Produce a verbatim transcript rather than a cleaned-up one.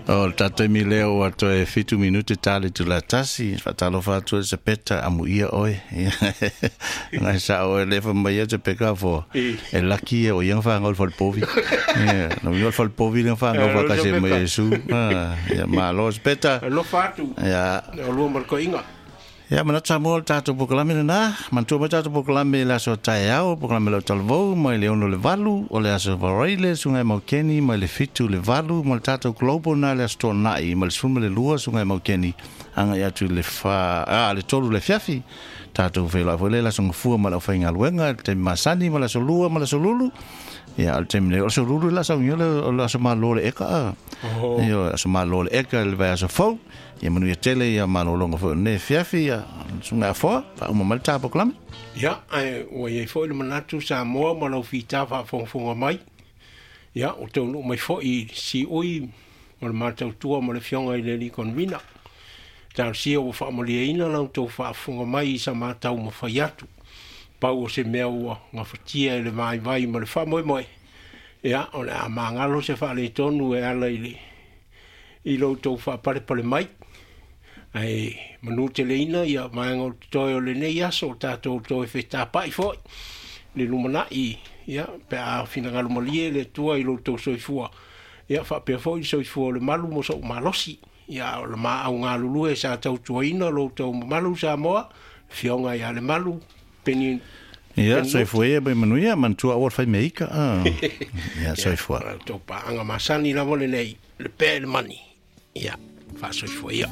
O le tatou taimi lea ua toe fitu minute ta le itula tasi, faatalofa atu e Sepeta amuia oe. Ngai sa oe le fa mai e Sepeka fo. E laki e o ia whangau le falepovi. Ia, no ia le falepovi le whangau whakase mai e su. Ia, malo Sepeta. Alofa atu. Ia. O lua markoinga. Ia, manatu Samoa le tatou polokalame lena. Manatua mai tatou polokalame le aso taeao, polokalame lau talavou, mai le ono le valu, o le aso Varaile, sugai Maukeni, mai le fitu le valu, ma le tatou global na le aso Toanai, mai le sefulu ma le lua, sugai Maukeni, agai atu i le fa, a, le tolu le fiafi. Tatou feiloai foi le aso Gafua ma le aufaigaluega, le taimi masani ma le aso Lua ma le aso Lulu. Ia, o le taimi nei, o le aso Lulu le aso augia o le aso malo le eka. Ia, o le aso malo le eka le vaiaso fou. Ia manuia tele ia malologa foi o lenei afiafi, ia susuga Afoa, faauma mai le ta polokalame. Ia, ae ua iai foi le manatu Samoa ma lau fita faafogafoga mai. Ia, o taunuu mai foi i siui ma le matautua ma le afioga i le alii convener. Talosia ua faamalieina lau tou faafofoga mai i sa matau mafai atu. Pau o se mea ua gafatia e le vaivai ma le faamoemoe. Ia, o le a magalo se faaletonu e ala i le i lo tou faapalepale mai. Ae manu teleina ia vaega o totoe o lenei aso o tatou toe fetapai foi le lumanai, ia, pe a finagalo malie le Atua i lo tou soifua. Ia, faapea foi le soifua o le malu mo sou malosi. Ia, o le maau galulue sa tautuaina lo tou mamalu Samoa, afioga ia Lemalu, Peni. Ia, soifua ia mai manuia, manatua aua le fai mea ika. Ia, soifua. Ia, tou paaga masani lava lenei, le pea i le mani. Ia, faasoifua ia.